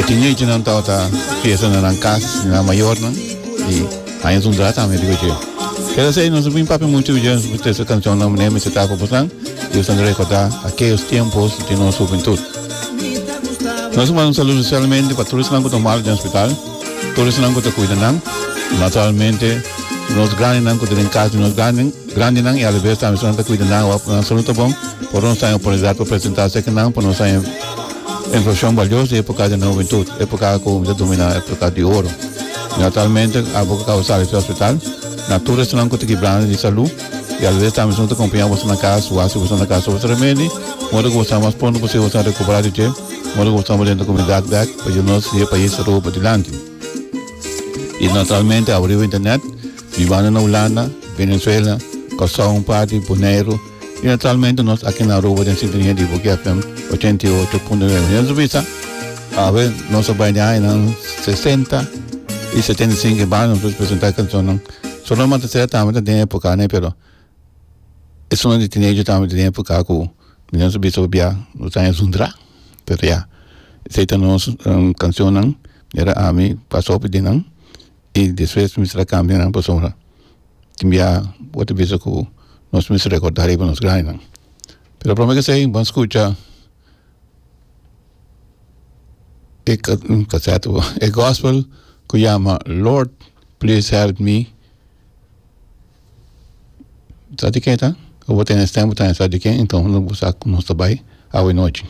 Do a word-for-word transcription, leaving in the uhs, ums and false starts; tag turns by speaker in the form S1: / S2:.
S1: E teenagernan tabata fiesta na nan kas, na nan mayornan i haña zundra tambe riba dje. Keda esei nos no bin papia muchu riba dje, nos por trese kanshonnan manera mester ta pa bosnan i bosnan ta rekordá akeyos tiempos di nos hubentut. Nos a manda un saludo spesialmente pa tur esnan ku ta malu den hospital, tur esnan ku ta kuida nan, naturalmente nos grandinan ku ta den kas di nos grandinan i alabes tambe esnan ta kuida nan awor nan salud ta bon, por nos ta haña oportunidat pa presentá serka nan pa nos haña informashon balioso di epoka di nan hubentut, epoka ku mi ta domina epoka di oro. Naturalmente abo ku kaba sali di hospital, na tur esnan ku ta kibrando di salud i alabes tambe esnan ku ta kompañá boso na kas, wak si boso na kas boso remedi, modo ku boso ta mas pronto posibel boso ta rekuperá di dje. Modo ku bo den komunidat bek pa yuda nos di e pais Aruba dilanti. I naturalmente abo riba internet, bibando na Hulanda, Venezuela, Kòrsou un parti, Boneiru i naturalmente nos aki na Aruba den sintonia di Boki F M ochenta i ocho punto nuebe. Nos a bisa awe nos a bai den añanan sesenta i setenta i sinku e banda nos a presenta e kanshonnan. Solo Matacera tambe ta den epoka ne pero esun di teenager tambe ta den epoka ku Mi no sa bisa pabia nos aña zundra, pero ya, esei ta nos cancionnan, era ami pasa hopi di nan y despues mi mester a cambia nan pasobra tin bia bo ta bisa cu nos mester recorda riba nos grandinan. Pero prome cu esei bo a scucha e caset, e gospel cu yama Lord Please Help Me. Sa di ken ta? Bo tene stem, bo tene sa di ken, enton bo sa ku nos ta bai awe nochi.